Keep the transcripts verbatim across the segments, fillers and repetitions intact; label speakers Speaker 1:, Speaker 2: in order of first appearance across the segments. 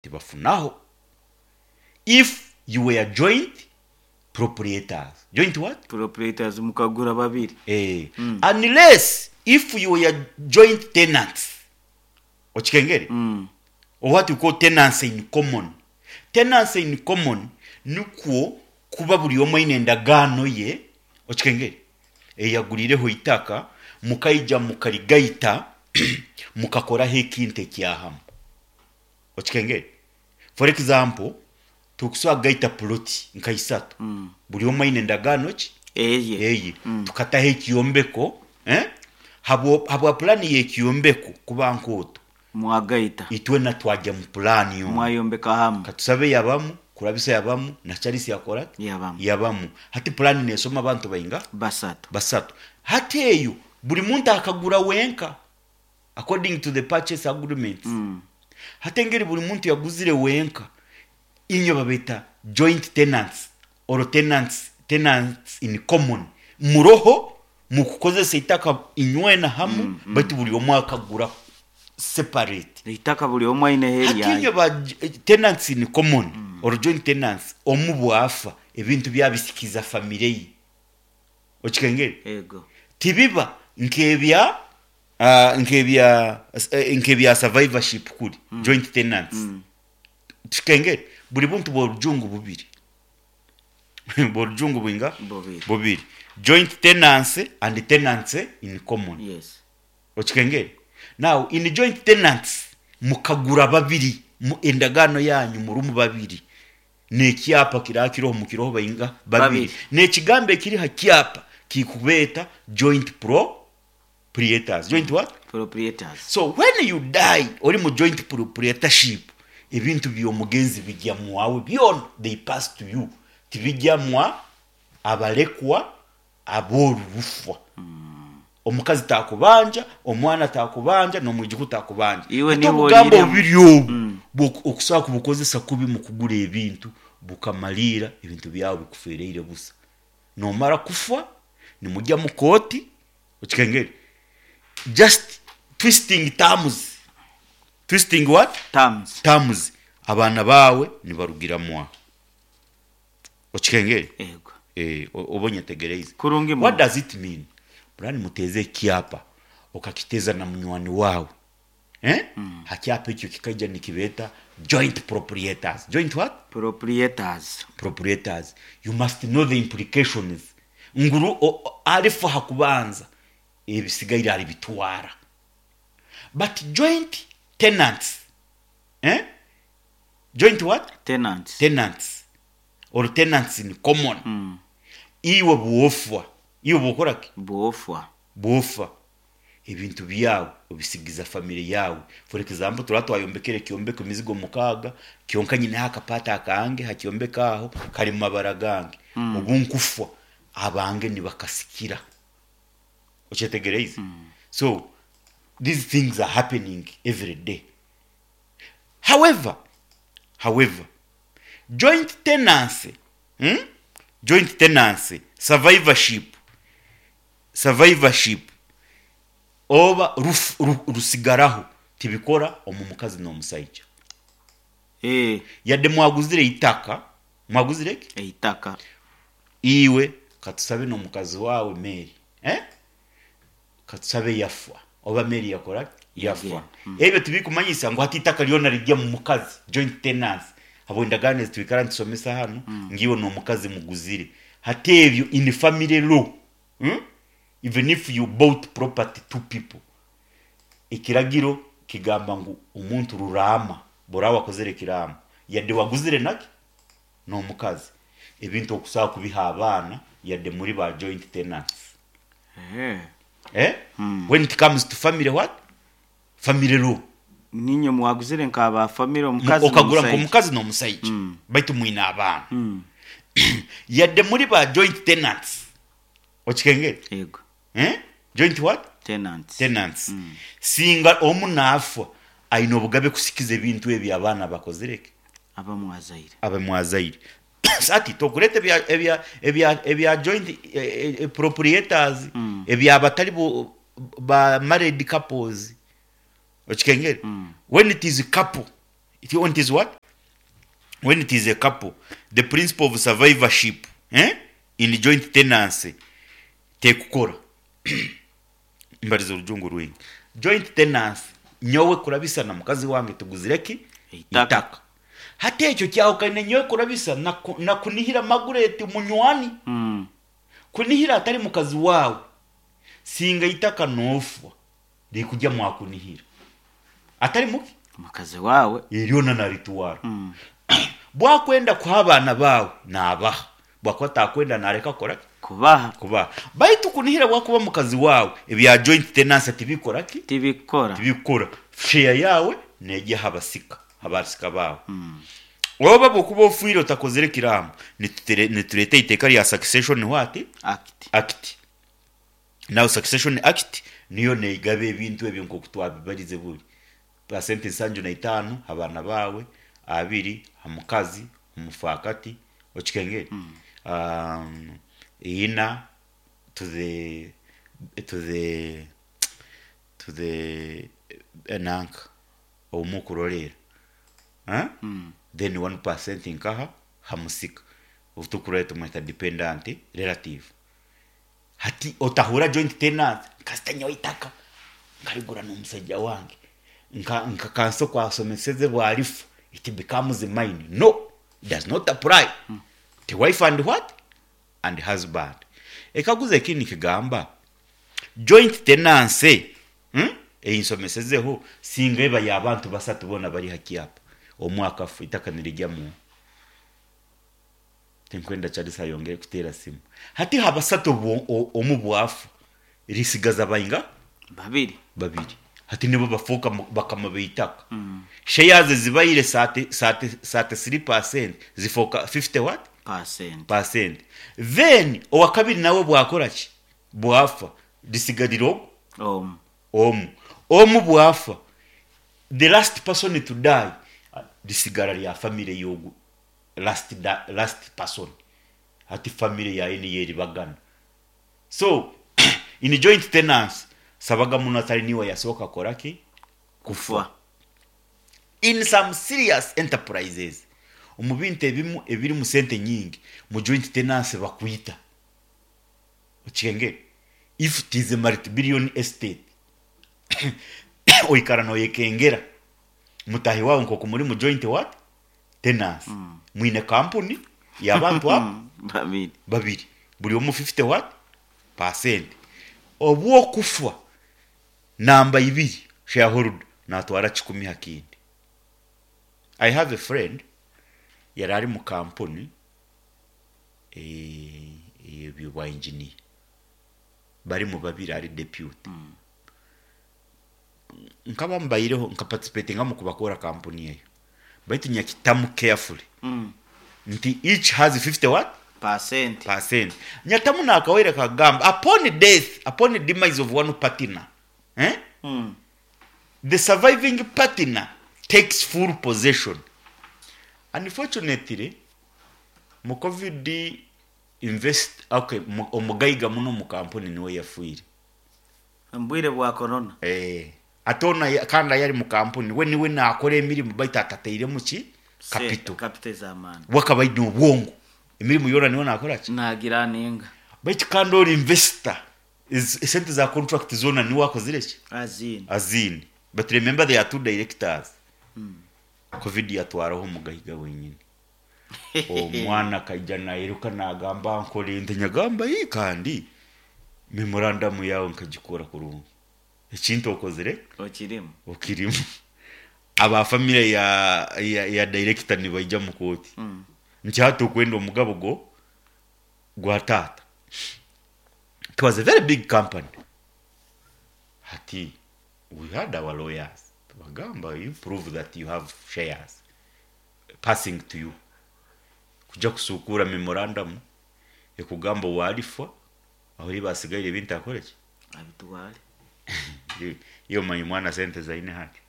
Speaker 1: Tibafunaho if you were joint proprietors. Joint what?
Speaker 2: Proprietors, mukagura babiri.
Speaker 1: Eh, unless if you were joint tenants, okikengere,
Speaker 2: Mm.
Speaker 1: or what you call tenancy in common. Tenancy in common nikwo kuba buri omwe aine endagaano ye, okikengere, eyagurireho itaka, mukaija mukarigaita, mukakoraho ekintu ekyahamu, okikengere. For example, tukusobola kugaita ploti nka isatu,
Speaker 2: Mm.
Speaker 1: buri omwe aine endagaano ki?
Speaker 2: Eye.
Speaker 1: Eye.
Speaker 2: Mm.
Speaker 1: Tukataho ekyombeko, eh? habwa habwa pulani y'ekyombeko kuba nkooto.
Speaker 2: Mwagaita.
Speaker 1: Itwena twajya mu pulani yomu.
Speaker 2: Mwayombeka hamu.
Speaker 1: Katusabe yabamu, Kurabisa yabamu, na Charles yakora ati?
Speaker 2: Yabamu.
Speaker 1: Yabamu. Hati pulani nesoma abantu bainga?
Speaker 2: Basatu.
Speaker 1: Basatu. Hati eyo buri muntu akagura wenka according to the purchase agreements.
Speaker 2: Mm.
Speaker 1: Hati engeri buri muntu yaguzire wenka, inyo babeta joint tenants or tenants tenants in common, muroho mukukozesa itaka inywena hamu,
Speaker 2: Mm, mm.
Speaker 1: baitu buri omwe akagura separate.
Speaker 2: Itaka buri omwe aine
Speaker 1: Hati
Speaker 2: heri.
Speaker 1: inyo ba tenants in common or joint tenants, omu bwafa, ebintu byabisikiza famire ye, okikengere?
Speaker 2: Ego.
Speaker 1: Tibiba nkebya uh, nkebya eh, nkebya survivorship kuri
Speaker 2: Mm.
Speaker 1: joint tenants.
Speaker 2: Mm.
Speaker 1: Tukengere, buri buntu bw'orujungu bubiri, bw'orujungu bwinga?
Speaker 2: Bubiri.
Speaker 1: Bubiri: joint tenancy and tenancy in common.
Speaker 2: Yes.
Speaker 1: Okikengere? Now, in joint tenants, mukagura babiri mu endagaano yanyu murumu babiri, n'ekyapa kira kiroho mukiroho bainga? Babiri.
Speaker 2: Babiri.
Speaker 1: N'ekigambo ekiri ha kyapa kikubeeta joint proprietors. Joint what?
Speaker 2: Proprietors.
Speaker 1: So when you die, ori mu joint proprietorship, ebintu by'omugenzi bijya mwawe byona, they pass to you, tibijya mwa abalekwa ab'orurufwa. Omukazi takubanja, omwana takubanja, n'omwijuku takubanja.
Speaker 2: Iwe
Speaker 1: Ate
Speaker 2: niwe
Speaker 1: obugambo
Speaker 2: oriremu.
Speaker 1: bubiri obu
Speaker 2: Mm.
Speaker 1: bwo- okusobola kubukozesa kubi mu kugura ebintu, bukamaliira ebintu byawe bikufereire busa. Nomara kufa, nimujya mu kooti, okikengere, just twisting terms. Twisting what?
Speaker 2: Terms.
Speaker 1: Terms. Abaana baawe nibarugiramu aho, okikengere?
Speaker 2: Ego.
Speaker 1: Eh, o- oba onyetegereize?
Speaker 2: Kurungi
Speaker 1: What
Speaker 2: muno.
Speaker 1: does it mean? Burani muteze ekyapa, okakiteza na munywani wawe, eh?
Speaker 2: Mm.
Speaker 1: Hakyapa ekyo kikaija nikibeeta joint proprietors. Joint what?
Speaker 2: Proprietors.
Speaker 1: Proprietors. You must know the implications nguru o- o- alifa hakubanza, ebisigaire alibitwara. But joint tenants, eh? Joint what?
Speaker 2: Tenants.
Speaker 1: Tenants or tenants in common,
Speaker 2: Mm.
Speaker 1: iwe bwofwa, iwe bwokora ki?
Speaker 2: Bwofwa.
Speaker 1: Bwofa, ebintu byawe obisigiza famire yawe. For example, tura twayombekere ekyombeko emizigo mukaaga, kyonka nyineho akapata akange hakyombeka aho kari mu mabara gange.
Speaker 2: Mm.
Speaker 1: Obu nkufa, abange nibakasikira, okyetegereize?
Speaker 2: Mm.
Speaker 1: So these things are happening every day. however however joint tenancy, hmm? Joint tenancy, survivorship survivorship oba ruf, ru, rusigaraho, tibikora omu mukazi n'omusaija.
Speaker 2: Eh,
Speaker 1: yadde mwaguzire itaka, mwaguzire ki?
Speaker 2: Eitaka.
Speaker 1: Iwe katusabe n'omukazi wawe Mary, eh? Katusabe yafa, oba Mary yakora yafa.
Speaker 2: Yagenda. Mm.
Speaker 1: Ebyo tibikumanyisa ngu hati itaka lyona rijya mu mukazi. Joint tenancy, abo endagaano ezitwikara nitusomesa hano,
Speaker 2: Mm.
Speaker 1: ngiwe n'omukazi muguzire, hati ebyo in family law, hmm? Even if you bought property, two people, ekiragiro kigamba ngu omuntu ruraama bora wakozere ekiraama, yadde waguzire naki n'omukazi, ebintu okusobola kubiha abaana yadde muri ba joint tenants.
Speaker 2: Eh.
Speaker 1: Eh?
Speaker 2: Mm.
Speaker 1: When it comes to family what? Family law.
Speaker 2: Ninye mwaguzire nk'aba family, omukazi
Speaker 1: Okagura
Speaker 2: n'omusaija.
Speaker 1: nk'omukazi n'omusaija,
Speaker 2: Mm.
Speaker 1: baitu mwine abaana,
Speaker 2: Mm.
Speaker 1: yadde muri ba joint tenants, okikengere?
Speaker 2: Ego.
Speaker 1: Eh? Joint what?
Speaker 2: Tenants.
Speaker 1: Tenants.
Speaker 2: Mm.
Speaker 1: Singa omu naafa, aine obugabe kusikiza ebintu ebyo abaana bakozireke?
Speaker 2: Abamwazaire.
Speaker 1: Abamwazaire. Ati tokureta ebya ebya ebya ebya joint eh, eh, proprietors,
Speaker 2: Mm.
Speaker 1: ebya batali bo ba married couples, okikengere?
Speaker 2: Mm.
Speaker 1: When it is couple, It, when it is what? When it is a couple, the principle of survivorship, eh? In joint tenancy tekukora. Mbariza orujungu rwingi. Joint tenancy, nyowe kurabisa na mukazi wange tuguzire ki?
Speaker 2: Itaka.
Speaker 1: Itaka. Hati ekyo kyahukana, nyowe kurabisa na, ku- na kunihira Magureti munywani.
Speaker 2: Mm.
Speaker 1: Kunihira atari mukazi wawe, singa itaka nofwa rikujya mwakunihira atari muki
Speaker 2: Mukazi wawe.
Speaker 1: Eryona naritwara.
Speaker 2: Mm.
Speaker 1: Bwakwenda kuha abaana bawe nabaha, bwakuba takwenda nareka kora ki?
Speaker 2: Kubaha.
Speaker 1: Kubaha. Baitu kunihira bwakuba mukazi wawe, ebya joint tenancy tibikora ki?
Speaker 2: Tibikora.
Speaker 1: Tibikora. Share yawe nejya habasika habasika bawe. Oba bwokuba ofiire otakozere kiraamo, nitutere- nitureta iteeka rya Succession what?
Speaker 2: Act.
Speaker 1: Act. Now, Succession Act niyo neigaba ebintu ebyo nkoku twabibarize buri pasenti nsanju na itaano abaana bawe, abiri omukazi omufaakati, okikengere, um, ina to the to the to the enanka omukurorera, huh?
Speaker 2: Mm.
Speaker 1: Then one percent nkaha hamusika otukurore tumweta dependent relative. Hati otahura joint tenant, kasita nyowe itaka nkarigura n'omusajja wange, nka nka kanso kwasomeseze bwarifu, it becomes mine. No, it does not apply. The wife and what? And husband. Ekaguza ekindi kigamba joint tenancy, hmm? Eyinsomesezeho, singa eba y'abantu basatu bona bari hakiapa, omwaka afu, itaka nirijyamu. Tinkwenda Charles ayongere kuteera simu. Hati habasatu bo- o- omu bwafu, risigaza bainga?
Speaker 2: Babiri.
Speaker 1: Babiri. Hati nibo bafuuka mu- bakama beitaka. Shares zibaire thirty three percent zifuuka fifty what?
Speaker 2: Percent.
Speaker 1: Percent. Then owakabiri nawe bwakora ki? Bwafa, risigarira ogwo
Speaker 2: Omu.
Speaker 1: omu. Omu bwafa, the last person to die, risigara lya family yogu last, da, last person. Hati family yaye niyo eribagana. So in joint tenants, sabaga muno atari niwe yasooka koraki?
Speaker 2: Kufa.
Speaker 1: In some serious enterprises, omu bintu ebimu ebiri mu sente nyingi, mu joint tenancy bakwita, okikengere, if it is a multi-billion estate, oikara noyekengera mutahi wawe nkoku muri mu joint what? Tenancy. Mwine kampuni y'abantu abo
Speaker 2: Babiri.
Speaker 1: Babiri, buri omu fifty what? Percent. Obwokufa, namba ibiri shareholder natwara kikumi hakindi. I have a friend yari ari mu kampuni eh, bwa engineer, bari mu babiri, ari deputy. Nkaba mbayireho nka participatinga mu kubakora kampuni eyo, baitu nyakitamu carefully
Speaker 2: Mm.
Speaker 1: nti each has fifty what?
Speaker 2: Percent.
Speaker 1: Percent. Nyatamu nakawere kagamba upon death, upon demise of one partner, eh?
Speaker 2: Mm.
Speaker 1: The surviving partner takes full possession. Unfortunately, mu COVID invest, okay, mu- omugayiga muno mu kampuni niwe yafiire.
Speaker 2: Mbwire bwa corona.
Speaker 1: Eh, ate ono ya- kandi yari mu kampuni, we niwe nakora emirimu, baitu atatairemu ki? Capital.
Speaker 2: Capital z'amaani.
Speaker 1: Wakaba aine obwongo, emirimu yona niwe nakora ki?
Speaker 2: Nagira ninga.
Speaker 1: Baitu kandi ori investor, esente za contract zona niwe akozire ki?
Speaker 2: Azini.
Speaker 1: Azini. But remember, there are two directors. COVID yatwaraho omugayiga wenyini. Omwana akaija nairuka nagamba, "Nkore nte?" Nyagamba, "Ii, kandi memorandum yawe nkagikora kurungi, ekintu okozire
Speaker 2: Okirimu.
Speaker 1: Okirimu." Aba family ya, ya, ya director nibaija mu kooti
Speaker 2: Mm.
Speaker 1: nti hati okwenda omugabo go gwa taata. It was a very big company. Hati we had our lawyers, bagamba, "You prove that you have shares passing to you." Kuja kusukura memorandum ekugamba walifa aho basigaire ebintu akoreki?
Speaker 2: Abitwale.
Speaker 1: Iyo manyi mwana sente zaine hati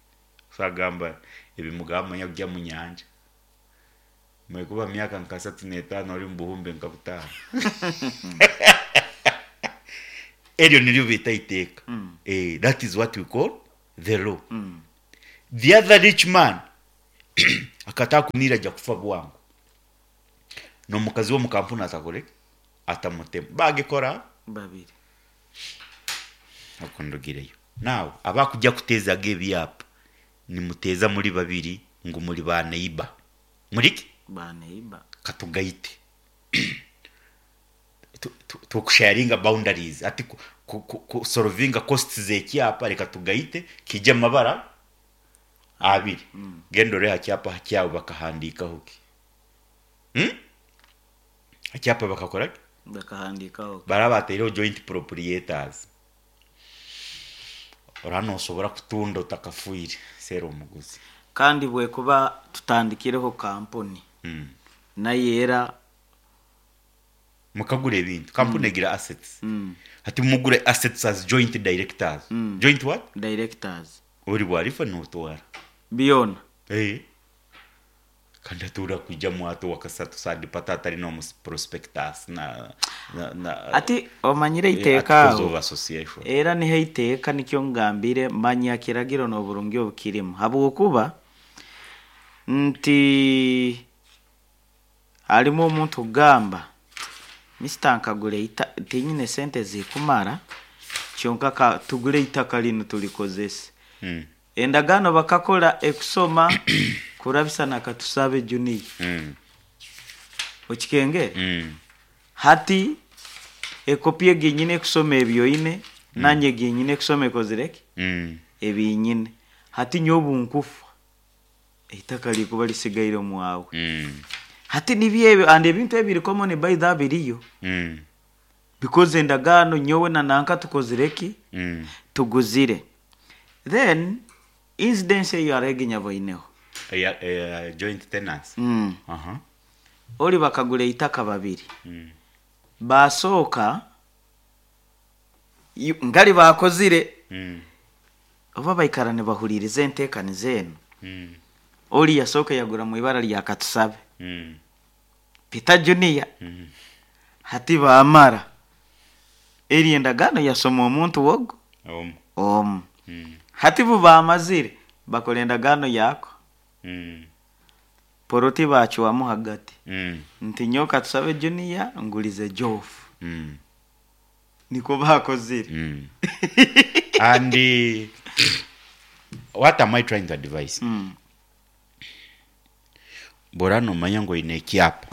Speaker 1: sagamba ebimugamba kujya mu nyanja mwekuba myaka nka satu n'etaano ori mu buhumbi nka butaano. Eryo niryo bita iteeka.
Speaker 2: Mm.
Speaker 1: Eh, that is what we call the law.
Speaker 2: Mm.
Speaker 1: The other rich man Akatakunira ajja kufa bwangu. N'omukazi w'omu kampuni atakore atamutema bagikora.
Speaker 2: Babiri.
Speaker 1: Okundugireyo nawe abakujja kuteezaga ebyapa, nimuteeza muri babiri ngu muri ba neighbor, muriki?
Speaker 2: Ba neighbor.
Speaker 1: Katugaite Tu- tu- tukusharinga boundaries, ati ku- ku- ku- ku- solvinga costs z'ekyapa, reka tugaite kijja amabara abiri. Genda ore ha kyapa kyawe bakahandikaho ki? Hmm? Ekyapa bakakora ki?
Speaker 2: Bakahandikaho.
Speaker 1: Baraba bataireho joint proprietors. Ora nosobora kutunda otakafuire seera omuguzi.
Speaker 2: Kandi bwekuba tutandikireho kampuni
Speaker 1: mm.
Speaker 2: naye era
Speaker 1: Mukagura ebintu, kampuni egira assets.
Speaker 2: mm.
Speaker 1: Ati mugure assets as joint directors.
Speaker 2: Mm.
Speaker 1: Joint what?
Speaker 2: Directors.
Speaker 1: Ori bwarifa notwara
Speaker 2: byona.
Speaker 1: Eh. Kandi atura kujja mwato wakasatu sadi patata ari no prospectus na na, na
Speaker 2: Ati omanyire
Speaker 1: eh,
Speaker 2: iteeka
Speaker 1: articles
Speaker 2: aho
Speaker 1: of association.
Speaker 2: Era niho iteeka nikyo ngambire manya kiragiro n'oburungi obukirimu, habwokuba nti harimu omuntu kugamba, "Mister, nkagura ita tinyine sente zikumara, kyonka ka tugure itaka linu tulikozese."
Speaker 1: mm.
Speaker 2: Endagaano bakakora ekusoma kurabisa nakatusabe Junior.
Speaker 1: Mm.
Speaker 2: Okikengere?
Speaker 1: Mm.
Speaker 2: Hati ekopi eginyine ekusoma ebyoine, nanye eginyine ekusoma ekozireki
Speaker 1: Mm.
Speaker 2: ebinyine. Hati nyowe nkufa, eitaka likuba lisigaire omwawe.
Speaker 1: Mm.
Speaker 2: Hati nibyebyo, and ebintu ebiri common by the biriyo
Speaker 1: Mm.
Speaker 2: because endagaano nyowe na nanka tukozireki,
Speaker 1: Mm.
Speaker 2: tuguzire. Then incidence eyo areginya boineho.
Speaker 1: Yeah, eh, joint tenants.
Speaker 2: mm.
Speaker 1: Aha.
Speaker 2: Oli bakagura eitaka babiri.
Speaker 1: Mm.
Speaker 2: Basooka yu- ngali bakozire,
Speaker 1: Mm.
Speaker 2: oba baikara nibahuliriza enteekaniza eno.
Speaker 1: Mm.
Speaker 2: Oli yasooka yagura mu ibara lya Katusabe
Speaker 1: Mm.
Speaker 2: Peter Junior.
Speaker 1: Mm.
Speaker 2: Hati bamara eri endagaano yasoma omuntu wogo
Speaker 1: Omu.
Speaker 2: omu.
Speaker 1: Mm.
Speaker 2: Hati bu bamazire bakora endagaano yako,
Speaker 1: Mm.
Speaker 2: poroti bakiwamu hagati,
Speaker 1: Mm.
Speaker 2: nti nyowe Katusabe Junior ngulize Jofu.
Speaker 1: Mm.
Speaker 2: Niko bakozire.
Speaker 1: Mm. And uh, what am I trying to advise?
Speaker 2: mm.
Speaker 1: Bora nomanya ngo ine ekyapa,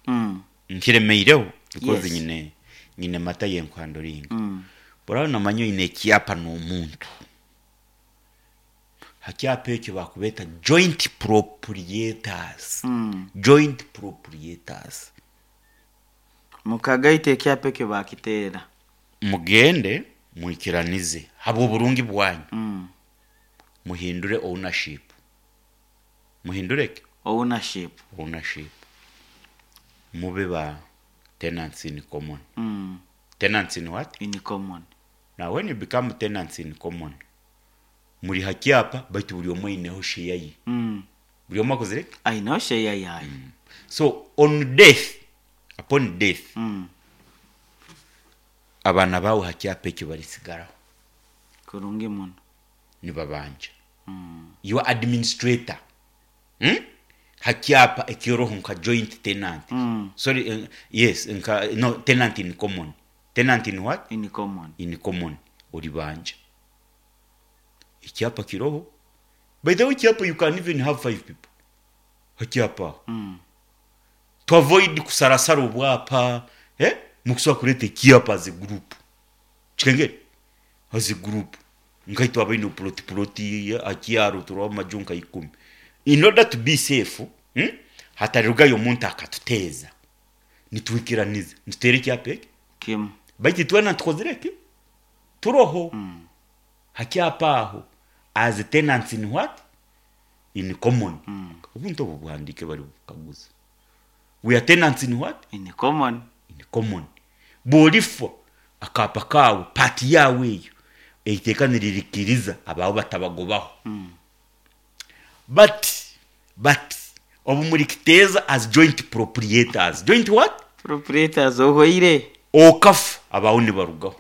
Speaker 2: Mm.
Speaker 1: nkiremeireho because
Speaker 2: Yes.
Speaker 1: nyine nyine mata yenkuhandoringa.
Speaker 2: Mm.
Speaker 1: Bora nomanya oine ekyapa n'omuntu, hakyapa ekyo bakubeta joint proprietors.
Speaker 2: Mm.
Speaker 1: Joint proprietors.
Speaker 2: Mukagaita ekyapa ekyo bakiteera.
Speaker 1: Mugende mwikiranize habwa oburungi bwanyu.
Speaker 2: mm.
Speaker 1: Muhindure ownership, muhindureke.
Speaker 2: Ownership.
Speaker 1: Ownership, mube ba tenants in common.
Speaker 2: mm.
Speaker 1: Tenants in what?
Speaker 2: In common.
Speaker 1: Now when you become tenants in common, muri hakyapa, baitu buri omwe aineho share ye.
Speaker 2: mm.
Speaker 1: Buri omwe akozire ki?
Speaker 2: Aineho share yayo.
Speaker 1: So on death, upon death,
Speaker 2: mm.
Speaker 1: abaana bawe hakyapa ekyo barisigaraho.
Speaker 2: Kurungi muno.
Speaker 1: Nibabanja.
Speaker 2: mm.
Speaker 1: Your administrator, hmm? Hakyapa ekyoroho nka joint tenant.
Speaker 2: Mm.
Speaker 1: Sorry, uh, yes, nka no tenant in common. Tenant in what?
Speaker 2: In common.
Speaker 1: In common. Oribanja ekyapa kiroho. By the way, ekyapa you can even have five people hakyapa,
Speaker 2: mm.
Speaker 1: to avoid kusarasara obwapa, eh? Mukusobola kureeta ekyapa as a group, kikengere as a group, nkaitwe abaine ploti ploti akyaro turiho amaju nka ikumi. In order to be safe, hmm? Hatarirugayo omuntu akatuteeza, nitwikiraniza nituteera ekyapa eki
Speaker 2: Kimu.
Speaker 1: Baitu twena tukozire ki turoho
Speaker 2: mm.
Speaker 1: hakyapa aho as tenants in what? In common.
Speaker 2: Mm.
Speaker 1: Obuntu obwo buhandike bari bukaguza. We are tenants in what?
Speaker 2: In common.
Speaker 1: In common. Bwolifa, akapa kawe, pati yawe eyo eiteeka niririkiriza abawe batabagobaho.
Speaker 2: mm.
Speaker 1: but but obu murikiteeza as joint proprietors, joint what?
Speaker 2: Proprietors, ohoire.
Speaker 1: Okafa, abawe nibarugaho,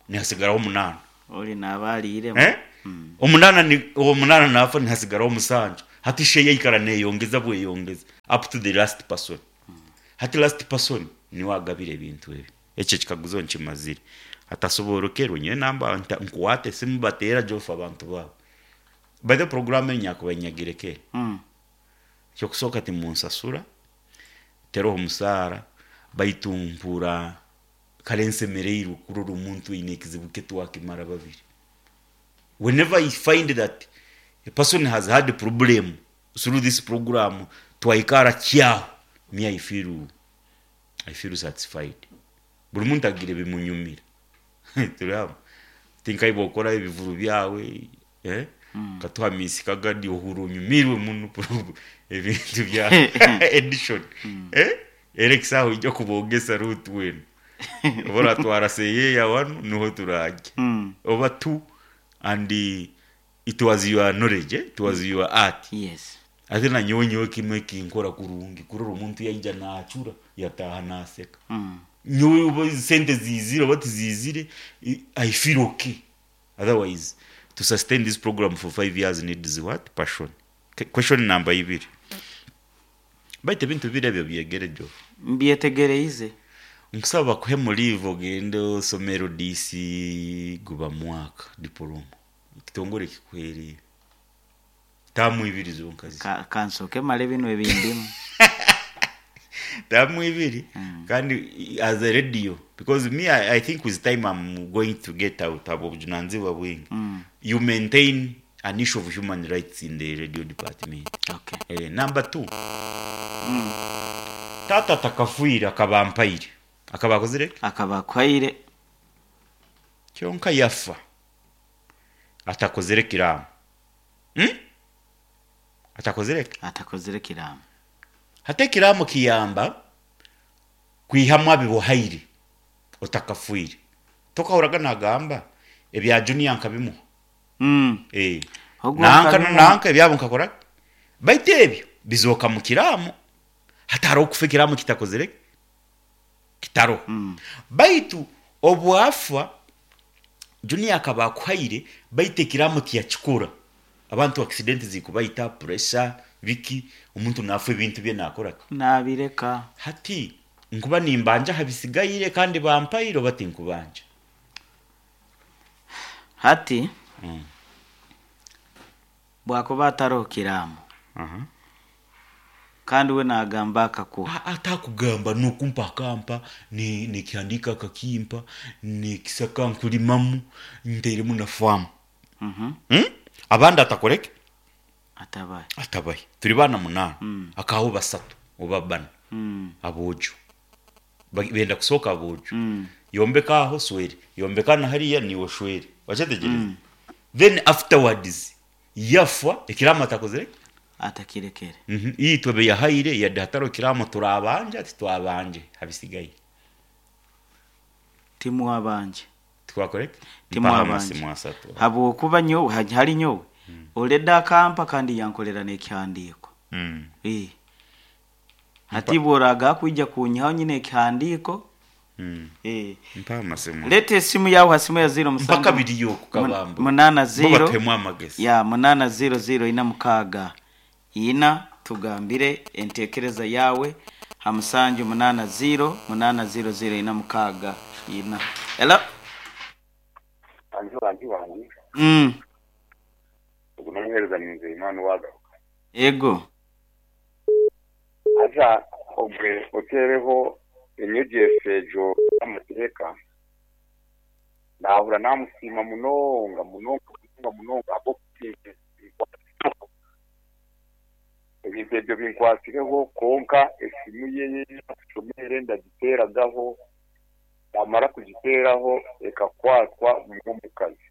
Speaker 1: nihasigaraho omunaana.
Speaker 2: Oli naaba ariiremu.
Speaker 1: Eh?
Speaker 2: Mm.
Speaker 1: Omunana ni omunana nafa, nihasigaraho omusanju. Hati share yaikara neyongeza bweyongeza up to the last person. Hati last person niwe agabira ebintu ebi. Ekyo ekikaguzo nkimazire. Atasoborokerwe nyowe namba nta- nkuwate simu bateera jofu abantu baabo. By the program enyakuba nyagire kera.
Speaker 2: Mm.
Speaker 1: Ekyokusooka timunsasura, teroho omusaara, baitu mpura kare nsemereirwe kurora omuntu aine ekizibu ke twakimara babiri. Whenever I find that a person has had a problem through this program, twaikara kyaho, me I feel, I feel satisfied. Buri muntu agira ebimunyumira. Turi hamwe. Tinkai bwokora ebivuru byawe, eh? Katuha misi kagadi ohura onyumirwe muno ebintu bya edition. Eh? Era ekisaho ijja kubogesa route wenu. Oba oratwara seyeya wanu niho turajya.
Speaker 2: Mm.
Speaker 1: Oba two and uh, it was your knowledge, eh? It was your art.
Speaker 2: Yes.
Speaker 1: Ate na nyowe nyowe kimwe kinkora kurungi kurora omuntu yaija nachura yataha naseka.
Speaker 2: Mm.
Speaker 1: Nyowe oba sente zizire oba tizizire, I I feel okay. Otherwise, to sustain this program for five years needs what? Passion. Ke- Question number ibiri. Baitu ebintu bibiri ebyo byegere jo.
Speaker 2: Mbyetegereize.
Speaker 1: Nkusaba bakuhe muri ogende osome R D C guba mwaka diploma. Ekitongore kikuhereye. Tamu ibiri zonka zi.
Speaker 2: Ka- kansoke male bino ebindimu.
Speaker 1: Tamu ibiri. Kandi as a radio, because me I, I think with time I'm going to get out abo obujunanizibwa bwingi.
Speaker 2: Mm.
Speaker 1: You maintain an issue of human rights in the radio department.
Speaker 2: Okay.
Speaker 1: Eh, number two. Tata takafuire akaba ampaire. Akaba akozire ki?
Speaker 2: Akaba akwaire.
Speaker 1: Kyonka yafa atakozere kiraamo, hmm? Atakozere ki?
Speaker 2: Atakozere kiraamo.
Speaker 1: Hati ekiraamo kiyamba kwihamu abibuhaire otakafuire. Tokahuraga nagamba ebya junior nkabimuha.
Speaker 2: Mm.
Speaker 1: Eh.
Speaker 2: Ogwo
Speaker 1: Nanka
Speaker 2: nkabimuha.
Speaker 1: nanka ebyabo nkakora, baitu ebyo bizooka mu kiraamo. Hati hariho okufa ekiraamo kitakozere ki? Kitaroho.
Speaker 2: Mm.
Speaker 1: Baitu obwafa junior akaba akuhaire, baitu ekiraamo tiyakikora. Abantu accident zikubaita, pressure biki, omuntu nafa ebintu bye nakora
Speaker 2: Nabireka.
Speaker 1: Hati nkuba nimbanja habisigaire kandi bampaire, oba tinkubanja?
Speaker 2: Hati
Speaker 1: Mm.
Speaker 2: bwakuba ataroho kiraamo
Speaker 1: uh-huh.
Speaker 2: kandi we nagamba akakuha.
Speaker 1: Atakugamba nokumpa akampa, ni- nikihandika akakimpa, nikisaka nkulimamu nteremu na famu.
Speaker 2: Mhm.
Speaker 1: Hmm? Abandi atakoreke.
Speaker 2: Atabaye.
Speaker 1: Atabaye. Turi bana munana.
Speaker 2: Mm.
Speaker 1: Akaho basatu oba bana
Speaker 2: Mm.
Speaker 1: abojo. Ba- benda kusoka abojo.
Speaker 2: Mm.
Speaker 1: Yombeka aho swere, yombeka na hariya niwo shwere, wachetegereza. Then afterwards yafa ekiramo atakozere.
Speaker 2: Atakirekere.
Speaker 1: mm -hmm. Itwe be yahaire yadde hataro kiramo, turabanja ati twabanje habisigaye.
Speaker 2: Timuwabanje.
Speaker 1: Twakoreke.
Speaker 2: Timuwabanje.
Speaker 1: Amasimu asatu.
Speaker 2: Habwokuba nyowe ha- hari nyowe oleda akampa kandi yankolera n'ekihandiiko.
Speaker 1: mm.
Speaker 2: Eh. Hati bworaga kwija kunyihaho nyine ekihandiiko.
Speaker 1: mm.
Speaker 2: Eh.
Speaker 1: Mpa amasimu.
Speaker 2: Leta esimu yawe ha simu ya zero
Speaker 1: Mpaka
Speaker 2: musanju
Speaker 1: biriyo kukabamba.
Speaker 2: munana
Speaker 1: Bo
Speaker 2: zero
Speaker 1: batuhemu amagezi.
Speaker 2: ya munana zero zero ina mukaaga ina, tugambire entekereza yawe ha musanju munana zero munana zero zero ina mukaaga ina. Hello.
Speaker 3: Wangi wangi wangi.
Speaker 2: mm.
Speaker 3: Ubwo nomuhereza Nzeyimana wagaruka.
Speaker 2: Ego.
Speaker 3: Aza obwe otereho enyegyesa egyo y'amateeka, nahura namusiima munonga munonga munonga munonga ahabw'okutinka ebintu ebyo binkwasireho. Konka esimu ye y'ashomere ndagiteragaho, namara kugiteraho ekakwatwa n'omukazi.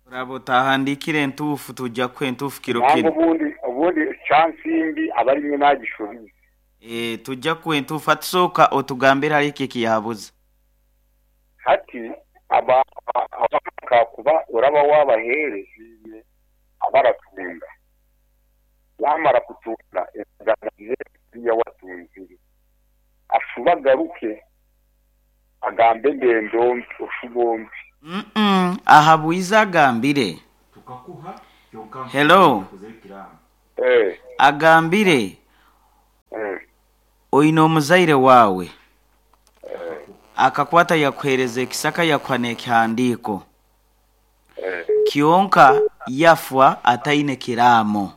Speaker 2: Uraba utahandikire entuufu, tujja kuha entuufu kiro
Speaker 3: Nange
Speaker 2: kino.
Speaker 3: obundi obundi chance mbi aba arimwe nagishobize.
Speaker 2: Eh, tujja kuha entuufu. Atusooka otugambire hari iki ekiyabuze.
Speaker 3: Hati aba abaka kuba uraba wabahereziye abaratunda, yamara kutunda endagano ya watunzire, ashuba agaruke agambe engendo mbi oshubombi.
Speaker 2: Mm -mm. Aha bwiza agambire.
Speaker 1: Tukakuha.
Speaker 2: Hello.
Speaker 3: Eh.
Speaker 2: Agambire
Speaker 3: Eh,
Speaker 2: oine omuzaire waawe akakwata yakuhereza ekisaka yakuha n'ekihandiiko
Speaker 3: eh,
Speaker 2: kyonka yafwa ataine kiraamo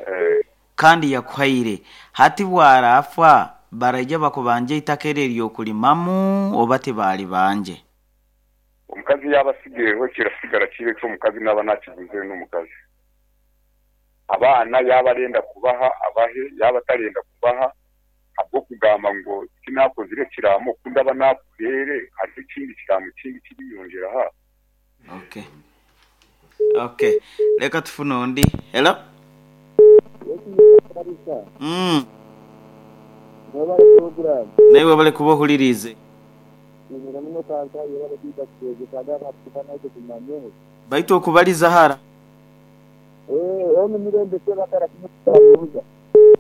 Speaker 3: eh,
Speaker 2: kandi yakuhaire hati bwarafa baraija bakubanja eitaka eryo eryokulimamu oba tibaali banje.
Speaker 3: Omukazi yaba asigayeho kirasigara kibe omukazi naba nakiguze n'omukazi. Abaana yaba arenda kubaha abahe, yaba atarenda kubaha habw'okugamba ngu tinakozire ekiraamo ku ndaba nakuheere hariho ekindi kiraamo kindi kiriyongyera ha.
Speaker 2: Okay, okay, leka tufune ondi. Hello. Mm. Naye webale kuba ohuliriize baitu okubaliza hara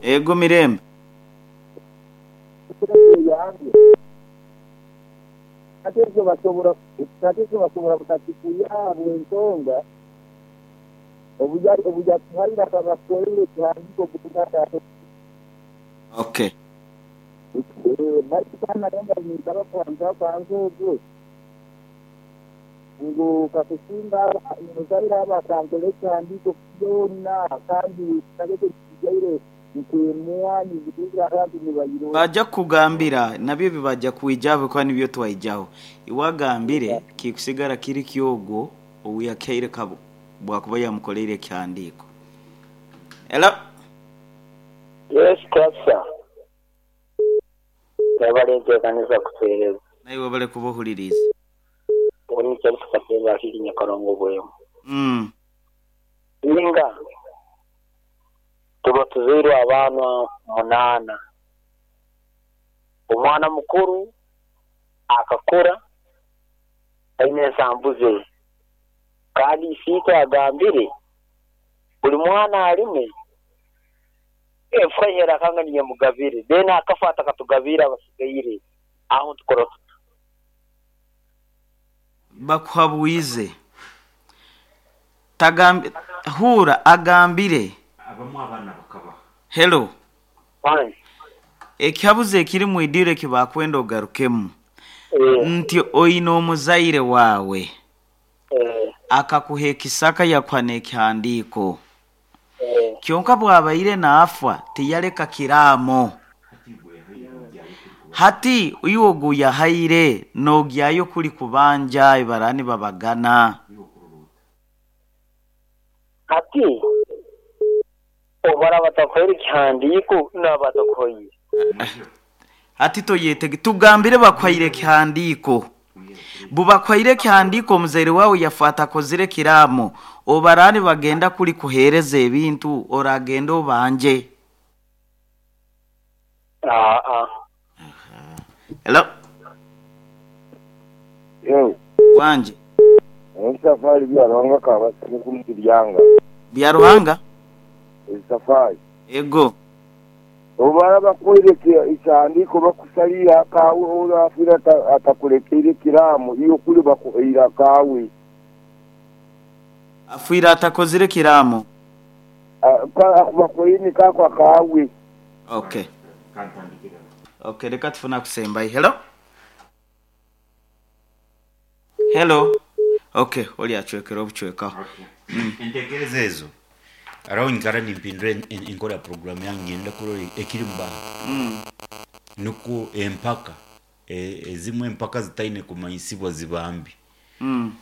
Speaker 2: ego mirembe.
Speaker 4: Ate basobora ate basobora kutatikuyabwe ensonga obujatuhaire akabakorere ekihandiiko kutata.
Speaker 2: Okay.
Speaker 4: Baitu ninsaba kwanza kwanza ogwo ngu kakusinga muzaire aba akankora ekihandiiko byona kandi kitagete kijaire nkwemwanyi zikugira abantu nibayiro.
Speaker 2: Bajja kukugambira nabyo bibajja kwijaho kuba nibyo twaijaho iwagambire kikusigara kiri kyogwo owuyakaire kabo bwakuba yamukoleire ekihandiiko. Hello.
Speaker 5: Yes, Pastor. Yabalenteekaniza kuteereza.
Speaker 2: Naye webale kuba ohuliriize.
Speaker 5: Oni kyali tukateeba akiri Nyakarongo bwemu.
Speaker 2: Mm.
Speaker 5: Ninga tuba tuzairwe abaana munaana. Omwana mukuru akakura aine ensambu ze. Kandi isiitwe agambire buli mwana alime efura akanga niyemugabire then akafa akatugabira abasigaire aho tukora tuta.
Speaker 2: Bakuhabwize tagambi hura agambire
Speaker 1: abamu abaana bakabaha.
Speaker 2: Hello.
Speaker 5: Fine.
Speaker 2: Ekihabuzo ekiri mu idire kibakwenda ogarukemu
Speaker 5: Eh,
Speaker 2: nti oine omuzaire waawe
Speaker 5: eh,
Speaker 2: akakuha ekisaka yakuha n'ekihandiiko
Speaker 5: eh,
Speaker 2: kyonka bwabaire naafa tiyaleka kiraamo hati iwe ogu yahaire noogyayo kuli kubanja ibarani babagana.
Speaker 5: Hati obara batakuhaire ekihandiiko n'abatakuhaire.
Speaker 2: Hati toyetege tugambire bakuhaire ekihandiiko bubakuhaire ekihandiiko omuzaire waawe yafa atakozire kiraamo obarani bagenda kuli kuheereza ebintu oragenda obanje.
Speaker 5: Ah, ah.
Speaker 2: Hello.
Speaker 6: Yo,
Speaker 2: wanje
Speaker 6: esafari byaruhanga kabasane kumukiryanga.
Speaker 2: Byaruhanga
Speaker 6: Esafari.
Speaker 2: Ego.
Speaker 6: Obara bakoire ekihandiiko bakusalira kawe orafira atakulekeire kiraamo iyo kuli bakuheira kawe.
Speaker 2: Afwira atakozire kiraamo.
Speaker 6: Bakuheire kakwa kawe.
Speaker 2: Okay. Okay, leka tufuna kusembayi. Hello. Hello. Okay, oli achwekera obuchwekaho.
Speaker 1: Entekereza ezo araho nkara nimpindura enkora ya programu yange ngenda kurora ekiri mu bantu.
Speaker 2: Mm.
Speaker 1: Nuko empaka ezimwe empaka zitaine kumanyisibwa zibambi.
Speaker 2: Mm.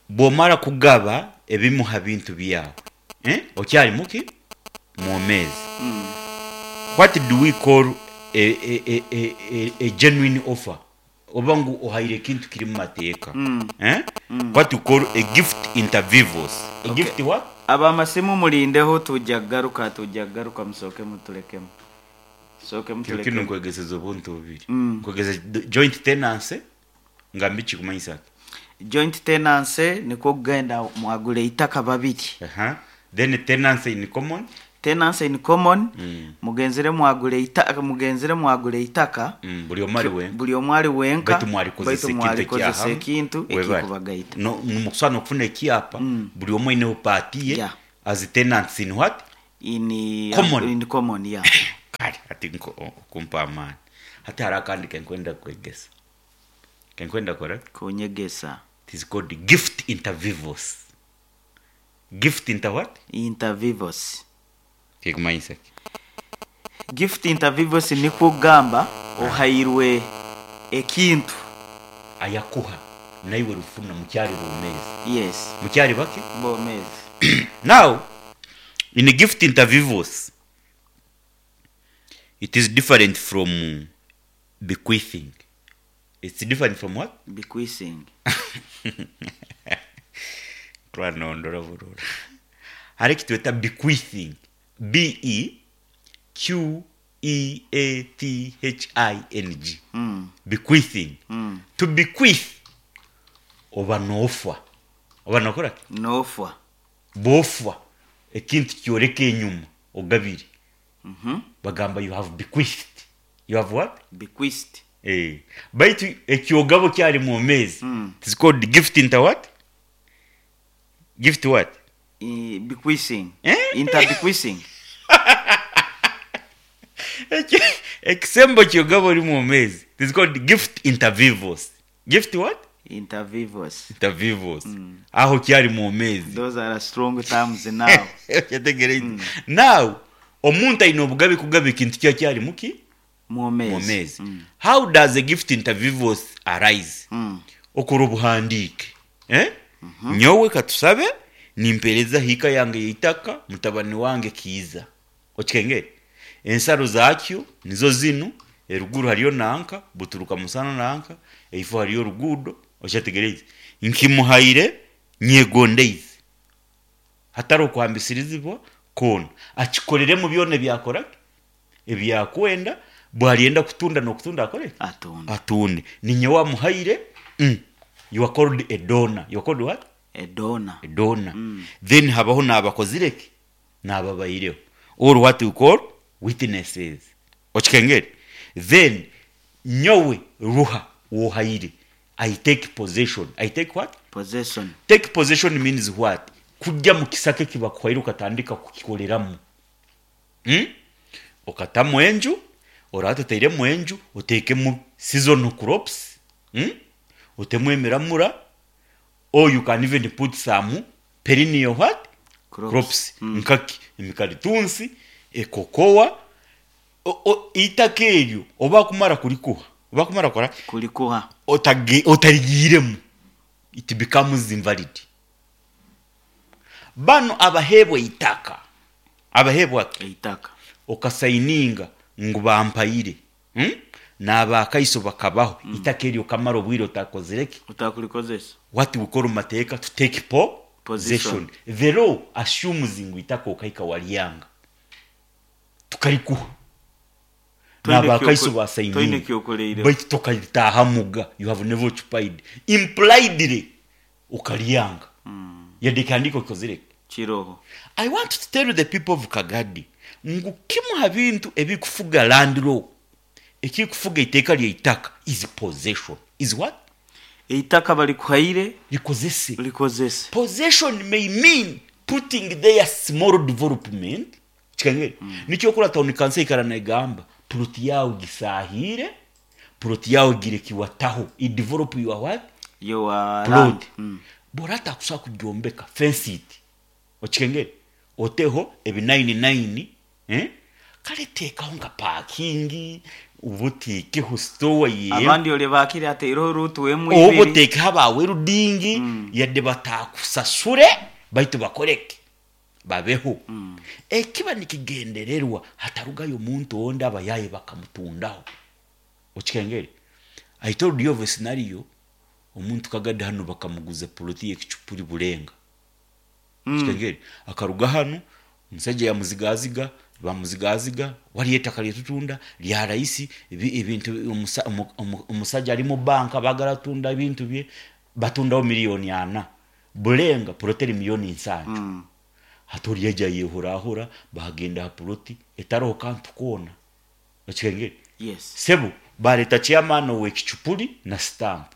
Speaker 1: Bwomara kugaba ebimuha bintu byawe eh okyali muki mwomezi.
Speaker 2: Mm.
Speaker 1: What do we call a, a, a, a, a, a genuine offer? Oba ngu ohaire ekintu kiri mu mateeka.
Speaker 2: Mm.
Speaker 1: Eh?
Speaker 2: Mm.
Speaker 1: What we call a gift inter vivos. A
Speaker 2: Okay.
Speaker 1: gift what?
Speaker 2: Abamasimu mulindeho tujja kugaruka tujja kugaruka musooke mutulekemu. Musooke
Speaker 1: Kino kino
Speaker 2: mutulekemu.
Speaker 1: nkwegeseza obuntu bubiri.
Speaker 2: Mm.
Speaker 1: Nkwegeza joint tenancy nga mbi kikumanyisa ki?
Speaker 2: Joint tenancy nikwo kugenda mwagule itaka babiri.
Speaker 1: Aha. Then tenancy in common.
Speaker 2: Tenancy in common.
Speaker 1: Mm.
Speaker 2: Mugenzere mwagule itaka mugenzere mwagule itaka.
Speaker 1: Mm, buli omu ali wenka.
Speaker 2: Buli omu ali wenka.
Speaker 1: Baitu mwalikozesa
Speaker 2: Baitu
Speaker 1: ekintu
Speaker 2: mwalikozesa
Speaker 1: ekyahamu.
Speaker 2: ekintu
Speaker 1: Webale.
Speaker 2: ekikubagaita.
Speaker 1: No, mukusana okufuna ekyapa
Speaker 2: Mm.
Speaker 1: buli omu aineho paati ye
Speaker 2: Yeah.
Speaker 1: as tenants in what?
Speaker 2: In
Speaker 1: Common.
Speaker 2: In common, yeah.
Speaker 1: Kale ati nko- okumpa amaani. Hati hariho akandi kenkwenda kwegesa, kenkwenda kora.
Speaker 2: Kunyegesa.
Speaker 1: It is called gift inter vivos. Gift inter what?
Speaker 2: Inter vivos.
Speaker 1: Kikumanyisa ki?
Speaker 2: Gift inter vivos nikwo kugamba ohairwe ekintu.
Speaker 1: Ayakuha naiwe rufuna mukyali bomezi.
Speaker 2: Yes.
Speaker 1: Mukyali bake.
Speaker 2: Bomezi.
Speaker 1: Now, in gift inter vivos, it is different from bequeathing. It's different from what?
Speaker 2: Bequeathing.
Speaker 1: Twanondora burura. Hari ekitweta bequeathing. B E Q E A T H I N G.
Speaker 2: Mm.
Speaker 1: Bequeathing.
Speaker 2: Mm.
Speaker 1: To bequeath, oba noofwa. Oba nokora ki?
Speaker 2: Noofwa.
Speaker 1: Bofwa ekintu kyoreka enyuma ogabire.
Speaker 2: Mhm.
Speaker 1: Bagamba you have bequeathed. You have what?
Speaker 2: Bequeathed.
Speaker 1: Eh. Baitu ekyogabo kyali mu mezi.
Speaker 2: Mm.
Speaker 1: It's called gift into what? Gift what?
Speaker 2: I, bequeathing.
Speaker 1: Eh?
Speaker 2: Inter bequeathing.
Speaker 1: Eki- Ekisembo kyogabo oli mu mezi. It's called gift inter vivos. Gift what?
Speaker 2: Inter vivos.
Speaker 1: Inter vivos. Aho kyali mu mezi.
Speaker 2: Those are strong terms now.
Speaker 1: Kyategereire. Now, omuntu aine obugabe kugaba ekintu kya kyali muki?
Speaker 2: Mwomezi.
Speaker 1: Mu mezi.
Speaker 2: Mm.
Speaker 1: How does a gift inter vivos arise?
Speaker 2: Mm.
Speaker 1: Okora obuhandiike, eh? Nyowe katusabe nimpereza hiika yange yeitaka mutabani wange Kiiza. Okikengere ensaro zakyo nizo zinu, eruguru hariyo nanka buturuka musana nanka eifo hariyo oruguudo. Okyategereize, nkimuhaire nyegondeize hatari okuhambisirizibwa koona, akikoreremu byona ebyakora ebyakwenda. Bwaryenda kutunda nokutunda akore.
Speaker 2: Atunda.
Speaker 1: Atunde. Ninye wamuhaire. mm. You are called a donor. You are called what?
Speaker 2: A donor.
Speaker 1: A donor. mm. Then habaho n'abakozireki n'ababaireho, or what we call witnesses. Okikengere, then nyowe ruha wohaire, I take possession. I take what?
Speaker 2: Possession.
Speaker 1: Take possession means what? Kujja mu kisaka ekibakuhaire okatandika kukikoreramu, hmm? Okatamu enju, oraba otairemu enju, oteekemu seasonal crops, hmm? Otemu emiramura, or you can even put some perennial what?
Speaker 2: Crops.
Speaker 1: Crops. Nkaki emikaritunsi, ekokowa. O- o- itaka eryo oba kumara kurikuha, oba kumara kora.
Speaker 2: Kulikuha.
Speaker 1: otage- otarigiiremu, it becomes invalid. Bano abaheebwa itaka, abaheebwa ki?
Speaker 2: Eitaka.
Speaker 1: Okasayininga ngu bampaire, hmm? N'abakaiso bakabaho. mm. Itaka eryo kamara obwire otakozireki.
Speaker 2: Utakulikozesa.
Speaker 1: What we call mu mateeka to take po
Speaker 2: Position.
Speaker 1: possession. The law assumes ngu itaka okaika walyanga tukarikuha.
Speaker 2: Toine
Speaker 1: N'abakaiso
Speaker 2: kyoko- toine
Speaker 1: basayininga.
Speaker 2: kyokoleire.
Speaker 1: Baitu tokalitahamuga, you have never occupied. Impliedly okalyanga, yadde ekihandiiko kikozireki.
Speaker 2: Kiroho.
Speaker 1: I want to tell the people of Kagadi ngu kimu ha bintu ebikufuga land law, ekikufuga iteeka lyeitaka, is possession. Is what?
Speaker 2: Eitaka balikuhaire.
Speaker 1: Likozese.
Speaker 2: Likozese.
Speaker 1: Possession may mean putting there small development. Kikangere, mm. Nikyo kura town council ikara negamba plot yawe gisahire, plot yawe gire kiwataho, i develop your what?
Speaker 2: Your land.
Speaker 1: Plot.
Speaker 2: Mm.
Speaker 1: Borata kusa kugyombeka, fence it. Okikengere, oteho ebi nine nine, eh? Kale teekaho nka parking, ubuteekeho store ye.
Speaker 2: Abandi ole bakire ateireho rutu emu
Speaker 1: Oba
Speaker 2: ibiri.
Speaker 1: oteekeho abawerudingi, yadde batakusasure, baitu bakoreke babeho. Ekiba nikigendererwa hatarugayo omuntu ondi abayaye bakamutundaho. Okikengere, I told you of a scenario, omuntu kagadde hano bakamuguza poloti yekicupuri bulenga.
Speaker 2: Mm.
Speaker 1: Kikengere, akaruga hano omusajja yamuzigaziga, bamuzigaziga waliyo ettaka lyetutunda lya raisi, ebi- ebintu omusa- omu- omu- omusajja ali mu banka, bagala tunda ebintu bye, batundawo miliyoni ana bulenga, puloti eri miliyoni nsanju.
Speaker 2: Mm.
Speaker 1: Hati ori yaija yehurahura, bagenda ha puloti etaroho kantu koona. Okikengere?
Speaker 2: Yes.
Speaker 1: Sebo bareta chairman w'ekicupuri na stamp,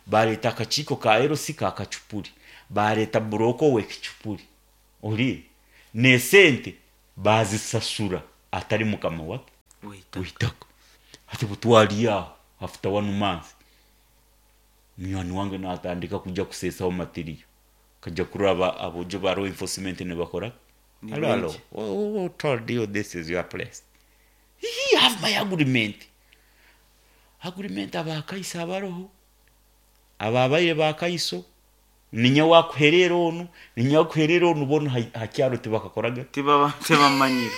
Speaker 1: bareta akakiiko ka L C ka kacupuri, bareta buroko w'ekicupuri ori nesente. Bazisasura atari mukama wake
Speaker 2: W'eitaka.
Speaker 1: W'eitaka. Hati butwari aho after one month, munywani wange natandika kujya kusesaho material, kajya kuraba abojo ba law enforcement nibakora.
Speaker 2: Ni
Speaker 1: Hello, hello.
Speaker 2: benki.
Speaker 1: Who, who told you this is your place? You have my agreement. Agreement abakaiso abaroho, ababaire bakaiso, ninya wakuherera onu, ninya wakuherera onu, bono ha- hakyaro tibakakoraga.
Speaker 2: Tibaba tibamanyire.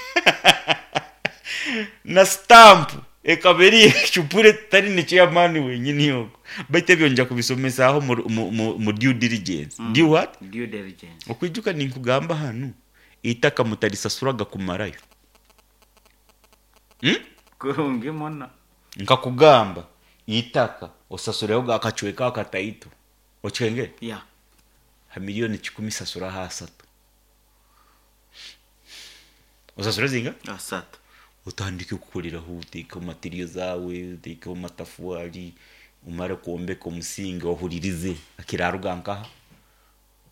Speaker 1: Na stamp ekaba eri ecupure tari ni chairman wenyini yogo. Baitu ebyo nja kubisomesaho mu, mu, mu, mu due diligence. Mm. Due what?
Speaker 2: Due diligence.
Speaker 1: Okwijuka ninkugamba hanu itaka mutarisasuraga kumarayo, hmm?
Speaker 2: Kurungi muno.
Speaker 1: Nkakugamba itaka osasureho gakacweka akataito, okikenge?
Speaker 2: Ya.
Speaker 1: Ha miliyoni kikumi sasuraho asatu. Osasure zinga?
Speaker 2: Asatu.
Speaker 1: Otandike kukoreraho, utekeho materiyo zawe, utekeho matafuari, umare kwombeka omusingi, ohuririze akiraruga nkaha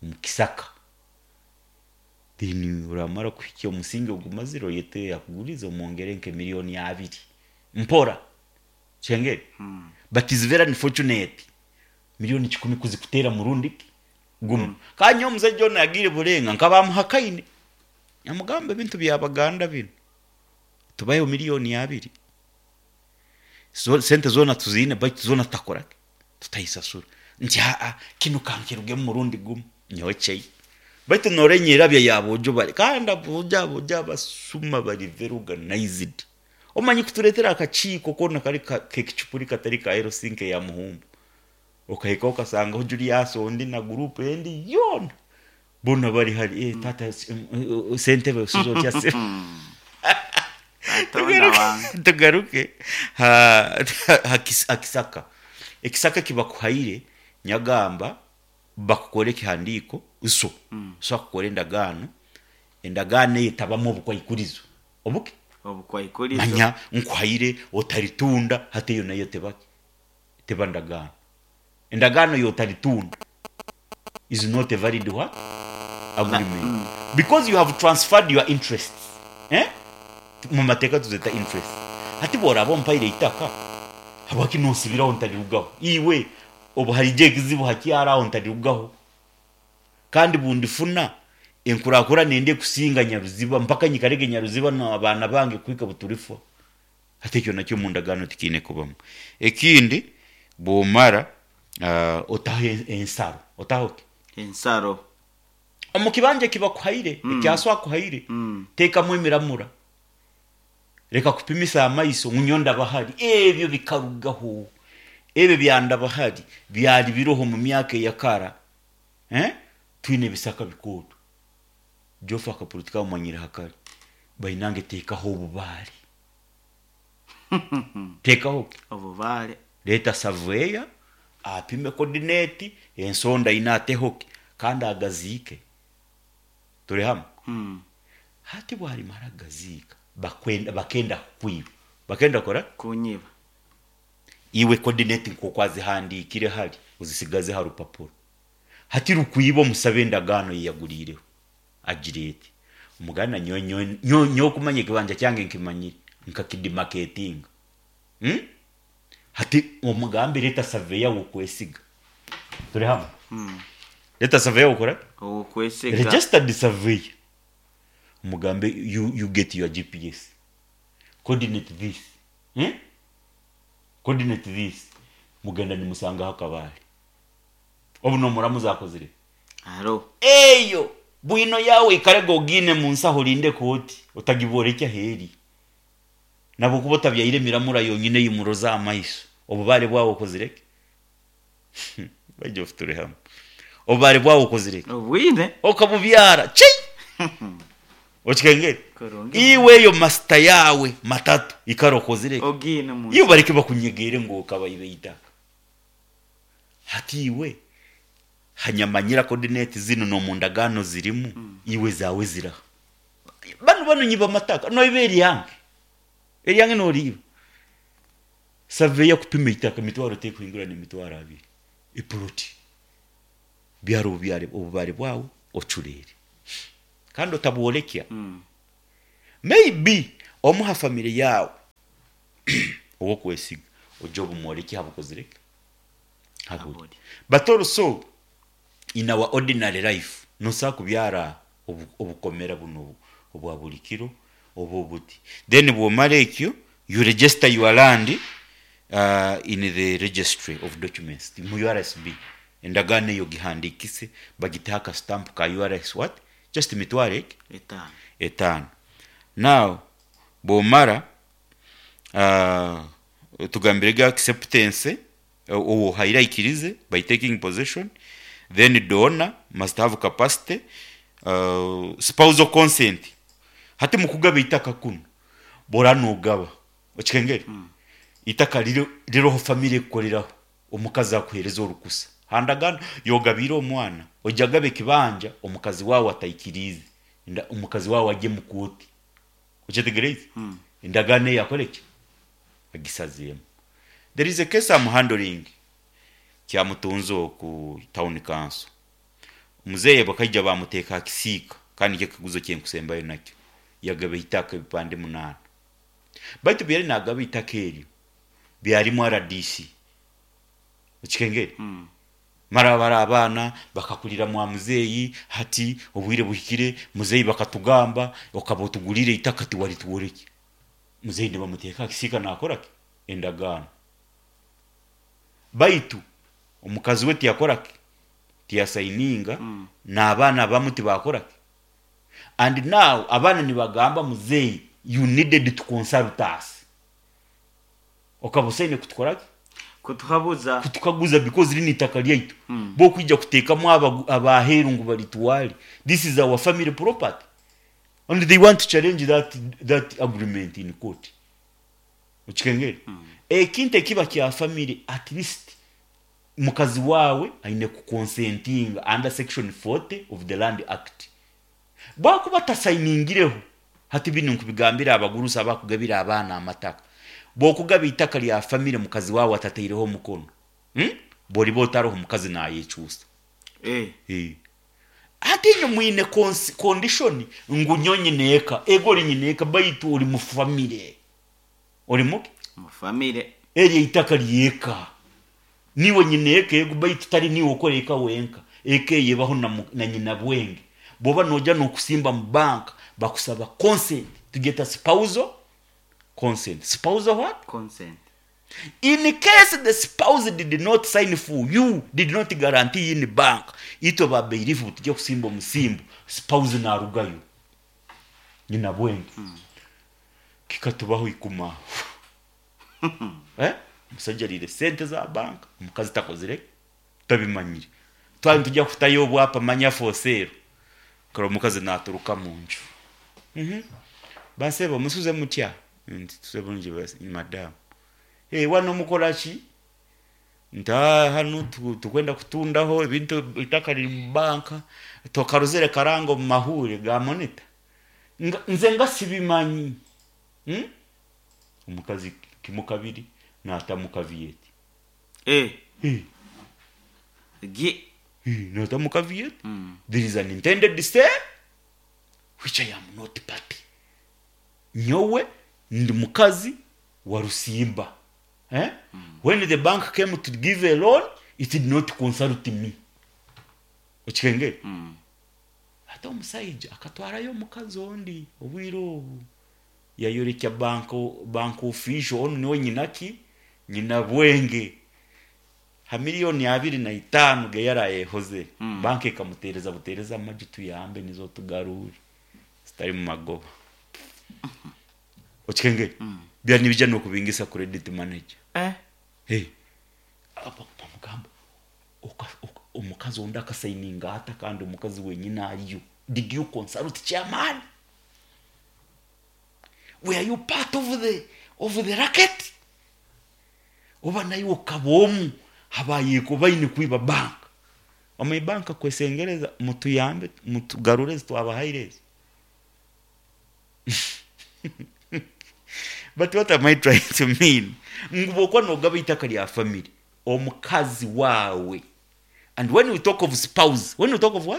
Speaker 1: omukisaka. Then uramara kuhikya omusingi ogumazire, oyete yakuguriza, omwongere nke miliyoni abiri mpora kyengere.
Speaker 2: Hmm.
Speaker 1: But is very unfortunate, miliyoni kikumi kuzikutera murundi gumu mm. Kanya omuzaija ono yagiire burenga nkabamuhakaine, amugamba ebintu byabaganda bino, tubayeho miliyoni abiri. So, sente zona tuziine, baitu zona tutakorake, tutayisasura. Nti aa, kino kankirugemu murundi gumu nyowe chei. Baitu norenyerabya yabojo bari kandi abojo abojo abasuma bari very organized. Omanyi kuturetera akakiiko kona kari ka- kekicupuri katari ka Helsinki ya muhumbu, okahika okasangaho Julius ondi na group endi yona bona bari hari. Eh, tata, eh, eh, sentebe usizo otya se?
Speaker 2: Katonda wange.
Speaker 1: Tugaruke ha, ha, kis- ha kisaka. Ekisaka kibakuhaire, nyagamba bakukore ekihandiiko iso mm. So akukora endagaano, endagaano eyo etabamu obukwaikurizo obuke.
Speaker 2: Obukwaikurizo.
Speaker 1: Manya nkuhaire otaritunda. Hati eyo nayo tebaki, teba ndagaano. Endagaano yotaritunda is not a valid what? Agreement.
Speaker 2: Mm.
Speaker 1: Because you have transferred your interests, eh? Mu mateeka tuzeta interest. Hati bworaba ompaire itaka, habwaki nosibiraho ntarirugaho? Iwe obu harije ekizibu hakyaraho ntarirugaho, kandi bundifuna enkurakura nende kusinga Nyaruziba mpaka nyikarege Nyaruziba n'abaana bange kwika buturifwa. Hati ekyo nakyo mu ndagaano tikiine kubamu. Ekindi, bwomara uh, otaho en- ensaro, otaho ki?
Speaker 2: Ensaro.
Speaker 1: Omu kibanja kibakuhaire mm. Ekyaso akuhaire
Speaker 2: Mm.
Speaker 1: teekamu emiramura, reka kupimisa amaiso ngu nyo ndabahari. Ebyo bikarugaho. Ebyo byandabahari byari biroho mu myaka eyakara, eh? Twine ebisaka bikooto jofa akapolitika bamanyire hakari bainange. Teekaho obubaare, teekaho ki?
Speaker 2: Obubaare.
Speaker 1: Leeta surveyor apime coordinate, ensonda ina atehoke kandi agaziike. Turi hamwe?
Speaker 2: Mm.
Speaker 1: Hati bwarimara agaziika, bakwenda, bakenda kukwiba, bakenda kora
Speaker 2: Kunyiba.
Speaker 1: Iwe coordinate nkoku azihandikire hari uzisigaze ha rupapuro. Hati rukwiba, omusabe endagaano yeyaguriireho, agira eti omuganda nyowe nyowe- nyowe nyowe okumanya ekibanja kyange nkimanyire nkakidimaketinga, hmm? Hati omugambe leta surveyor wokwesiga. Turi hamwe?
Speaker 2: Mm.
Speaker 1: Leta surveyor wokora
Speaker 2: Okwesiga.
Speaker 1: registered surveyor, omugambe you, you get your G P S coordinate this, eh? Coordinate this. Mugenda nimusangaho akabare, obu nomuramu zakozire.
Speaker 2: Aro.
Speaker 1: Eyo bwino yawe ikarega ogine munsaho, olinde kooti otagibora ekyaheri nabo kuba otabyaire emiramura yonyine yimuroza amaiso. Obubare bwawe okozireke bajja turi hamwe, obubare bwawe okozireke.
Speaker 2: Obwine.
Speaker 1: Okabubyara chi okikengere.
Speaker 2: Kurungi.
Speaker 1: Iwe eyo masita yawe matatu ikara okozireke.
Speaker 2: Ogine mu.
Speaker 1: Iyo bareke bakunyegere ngo kabayibe itaka. Hati iwe hanyamanyira coordinate zino no mu ndagaano zirimu mm. Iwe zawe ziraha bano bano nyiba amataka noiba eryange, eryange noriiba. Surveyor kupima itaka emitwaro tekuhingura n'emitwaro abiri epuloti. Byara obubyare obubare bwawe ocurere kandi otabworekya.
Speaker 2: Mm.
Speaker 1: Maybe omuha family yawe owokwesiga ojja obumworeki habukozire haburi.
Speaker 2: Haburi.
Speaker 1: But also in our ordinary life nosa kubyara obu- obukomera buno obu- obwa buli kiro oba obuti. Then bwomara ekyo, you register your land uh, in the registry of documents mu U R S B. Endagaano eyo gihandikise, bagiteho akastamp ka U R S. What, just emitwaro eki
Speaker 2: etaano.
Speaker 1: Etaano. Now bwomara uh, tugambire ga acceptance, owo haira ikirize by taking possession. Then donor must have capacity, uh, spousal consent. Hati mukugaba itaka kuno, bora nugaba okikengere mm. itaka riro riroho family ekukoreraho, omukazi akuhereza orukusa handagano yogabira omwana. Ojagabe kibanja omukazi wawe ataikirize. Nda- omukazi wawe ajye mu kooti, okyetegereize mm. endagaano eyo akoreki agisazeemu. There is a case I'm handling kyamutunze ku town council. Muzeeye bakaija bamuteeka akisiika, kandi nikyo ekikaguzo kyenkusembayo nakyo. Yagaba itaka ebipande munaana, baitu byari nagaba itaka eryo byarimu R D C, okikengere mm. Mara bari abaana bakakurira mwa muzeeyi. Hati obwire buhikire, muzeeyi bakatugamba okaba otugurire itaka tiwarituworeki. Muzeeyi nibamuteeka akisiika nakoraki endagaano, baitu omukazi we tiyakoraki, tiyasayininga mm. n'abaana bamu tibakoraki. And now abaana nibagamba, "Muzeeyi, you needed to consult us, okaba osaine kutukoraki."
Speaker 2: Kutuhabuza.
Speaker 1: Kutukaguza, because rino itaka lyaitu mm. bokwija kuteekamu abagu- abaheeru ngu baritwale. This is our family property, and they want to challenge that, that agreement in court, okikengere mm. Ekintu ekiba kya family, at least mukazi wawe aine kuconsentinga under section forty of the Land Act. Bwakuba tasayiningireho, hati bino nkubigambira abagurusi abakugabira abaana amataka, bwokugaba itaka lya family mukazi wawe atataireho omukono, hmm? Bwoliba otaroho, omukazi nayekyusa.
Speaker 2: Eh.
Speaker 1: Eh. Ate inyo mwine cons- condition ngu nyo nyineeka, ego ori nyineeka, baitu ori mu family, ori muki?
Speaker 2: Mu family.
Speaker 1: Eryo itaka lyeka niwe nyineeka, ego, baitu tari niwe okora eka wenka. Eka eyebaho na, mu- na nyina bwenge. Bwoba noja nokusimba mu banka, bakusaba consent to get a spousal consent. Spousal what?
Speaker 2: Consent.
Speaker 1: In case the spouse did not sign for you, did not guarantee in bank, itwe babailiff tujya kusimba omusimbo, spouse narugayo, nyina bwenge mm. Kikatubaho ikuma, eh? Omusajja arire sente za banka, omukazi takozire, tabimanyire. Twali tujya kutayo obwapa manya for sale, kare omukazi naturuka mu nju. Mhm. Basebo, musuze mutya? Nti tusuze bulungi basi, madamu. Hey, wano mukola ki? Nti, "Ah, hanu tu- tukwenda kutundaho ebintu, itaka riri mu banka, tokarozere karango mu mahure ga monita." Nga- nze nga sibimanyi, hmm? Omukazi kimu kabiri natamu caveat.
Speaker 2: Eh.
Speaker 1: Hey,
Speaker 2: gi
Speaker 1: hey, natamu caveat.
Speaker 2: Mm.
Speaker 1: There is an intended sale which I am not party. Nyowe ndi mukazi wa Rusimba, eh? When the bank came to give a loan, it did not consult me, okikengere.
Speaker 2: Mm.
Speaker 1: Ate omusaija akatwarayo omukazi ondi. Obwire obu yayorekya bank bank official, onu niwe nyinaki, nyina bwenge, ha miliyoni abiri na itaano ge yarayehoze mm. Banka ekamutereza butereza amaju, tuyambe nizo tugarure zitari mu magoba, okikengere mm. Byari nibijya nokubingisa credit manager.
Speaker 2: Eh.
Speaker 1: Hey. Aba- bamugamba oka- oka- omukazi ondi akasayininga ata kandi omukazi wenyine ariyo? Did you consult chairman? Were you part of the, of the racket? Oba naye okaba omu habayeko baine kwiba banka? Omu banka kwesengereza, mutuyambe mutugarure twabahaire ezo. But what am I trying to mean? Ngu bwokuba nogaba itaka lya family, omukazi wawe, and when we talk of spouse, when we talk of what?